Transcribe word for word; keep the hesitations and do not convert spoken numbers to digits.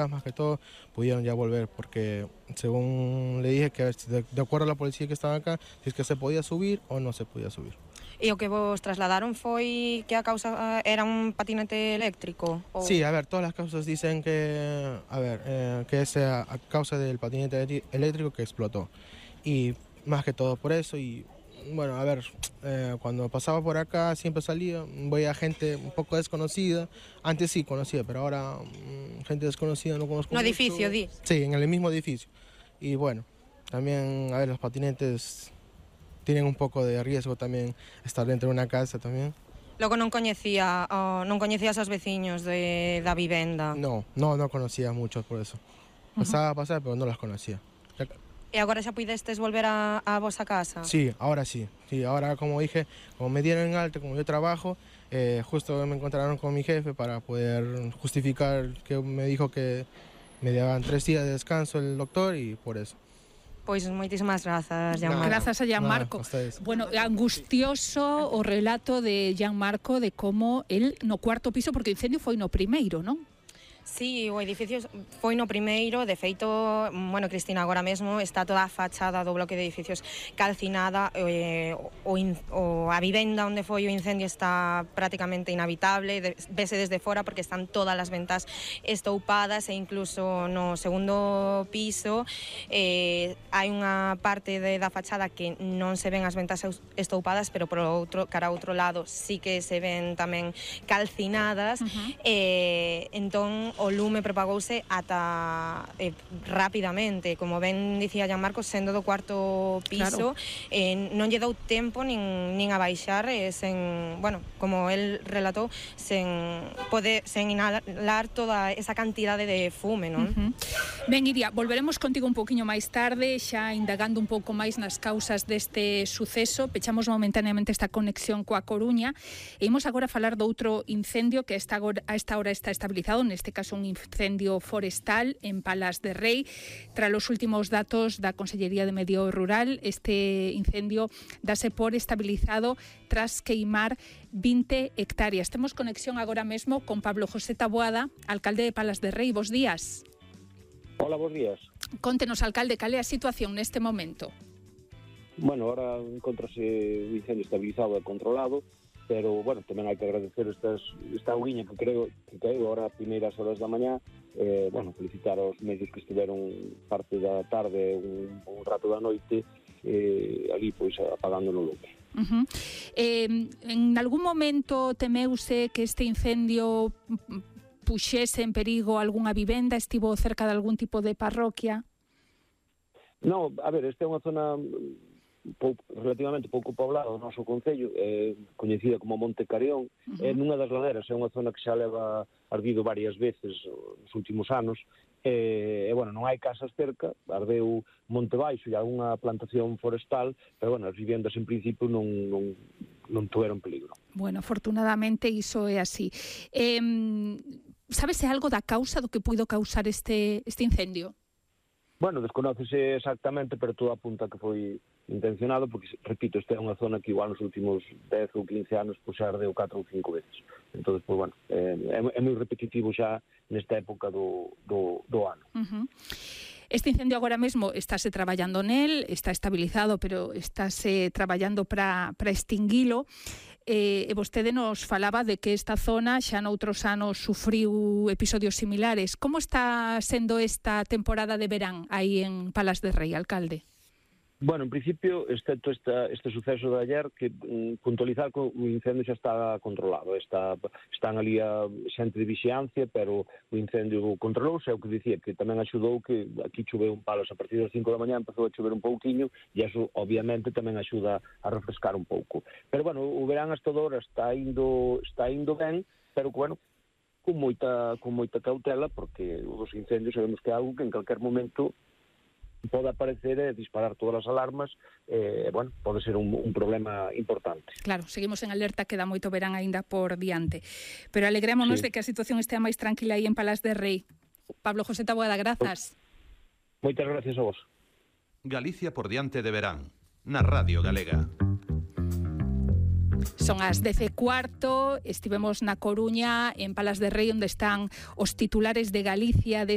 más que todo pudieron ya volver, porque según le dije que a ver, de, de acuerdo a la policía que estaba acá, si es que se podía subir o no se podía subir. E o que vos trasladaron foi que a causa era un patinete eléctrico? Ou... Sí, a ver, todas las causas dicen que, a ver, eh, que es a, a causa del patinete eléctrico que explotó. Y más que todo por eso. Y bueno, a ver, eh, cuando pasaba por acá siempre salía, veía gente un poco desconocida. Antes sí conocía, pero ahora mmm, gente desconocida no conozco no mucho. edificio, di? Sí, en el mismo edificio. Y bueno, también, a ver, los patinetes tienen un poco de riesgo también estar dentro de una casa también. Logo non coñecía, oh, non coñecías aos veciños de, da vivenda? No, no, no conocía muchos por eso. Pasaba a pasar, pero no las conocía. E agora xa puidestes volver a, a vosa casa? Sí, ahora sí. Sí, ahora como dije, como me dieron en alta, como yo trabajo, eh, justo me encontraron con mi jefe para poder justificar que me dijo que me daban tres días de descanso el doctor y por eso. Pois moitísimas grazas, Gianmarco. Grazas a Gianmarco. Bueno, angustioso o relato de Gianmarco de como el no cuarto piso, porque o incendio foi no primeiro, non? Sí, o edificio foi no primeiro, de feito, bueno, Cristina, agora mesmo está toda a fachada do bloque de edificios calcinada, eh, o, in, o a vivenda onde foi o incendio está prácticamente inhabitable, de, vese desde fora porque están todas as ventas estoupadas e incluso no segundo piso eh, hai unha parte de, da fachada que non se ven as ventas estoupadas, pero por outro, cara a outro lado sí que se ven tamén calcinadas, uh-huh. eh, entón o lume propagouse ata eh, rapidamente, como ben dicía Gianmarco, sendo do cuarto piso, claro. eh, non lle dou tempo nin, nin a baixar, eh, sen, bueno, como el relatou, sen pode, sen inhalar toda esa cantidade de fume, non? Uh-huh. Ben, Iria, volveremos contigo un poquinho máis tarde, xa indagando un pouco máis nas causas deste suceso. Pechamos momentaneamente esta conexión coa Coruña e imos agora falar do outro incendio que a esta hora está estabilizado, neste caso un incendio forestal en Palas de Rei. Tras os últimos datos da Consellería de Medio Rural, este incendio dase por estabilizado tras queimar vinte hectáreas. Temos conexión agora mesmo con Pablo José Taboada, alcalde de Palas de Rei. Bos días. Hola, bos días. Contenos, alcalde, cal é a situación neste momento? Bueno, ahora encontrase o incendio estabilizado e controlado, pero, bueno, tamén hai que agradecer estas, esta auguiña que creo que caeu ahora a primeiras horas da mañá, eh, bueno, felicitar aos medios que estiveron parte da tarde, un, un rato da noite, eh, ali, pois, apagando no lume. Uh-huh. Eh, en algún momento temeuse que este incendio puxese en perigo algunha vivenda, estivo cerca de algún tipo de parroquia? No, a ver, esta é unha zona pouco, relativamente pouco poblada do noso concello, é coñecida como Monte Careón, uh-huh. é nunha das laderas, é unha zona que xa leva ardido varias veces nos últimos anos, e, e bueno, non hai casas cerca, ardeu Monte Baixo e algunha plantación forestal, pero bueno, as vivendas en principio non, non, non tuveron peligro. Bueno, afortunadamente iso é así. Eh, sabese algo da causa do que puido causar este, este incendio? Bueno, desconócese exactamente, pero todo apunta que foi intencionado, porque, repito, esta é unha zona que igual nos últimos dez ou quince anos pues, xa ardeu catro ou cinco veces. Entón, pues, bueno, é, é moi repetitivo xa nesta época do, do, do ano. Uh-huh. Este incendio agora mesmo estáse traballando nel, está estabilizado, pero estáse traballando para para extinguilo. Eh, e vostede nos falaba de que esta zona xa noutros anos sufriu episodios similares. Como está sendo esta temporada de verán aí en Palas de Rei, alcalde? Bueno, en principio, excepto esta, este suceso de ayer, que mm, puntualizar que o incendio xa está controlado. Está, están ali a xente de vixiancia, pero o incendio controlouse, é o que dicía, que tamén axudou que aquí choveu un palos a partir das cinco da mañá, empezou a chover un pouquiño, e eso, obviamente, tamén axuda a refrescar un pouco. Pero, bueno, o verán hasta agora está indo, está indo ben, pero, bueno, con moita, con moita cautela, porque os incendios sabemos que é algo que en calquer momento pode aparecer e disparar todas as alarmas, eh, bueno, pode ser un, un problema importante. Claro, seguimos en alerta, queda moito verán aínda por diante. Pero alegrémonos sí. de que a situación estea máis tranquila aí en Palas de Rei. Pablo José Taboada, grazas. Moitas gracias a vos. Galicia por diante de verán, na Radio Galega. Son as dez e cuarto, estivemos na Coruña, en Palas de Rei, onde están os titulares de Galicia desta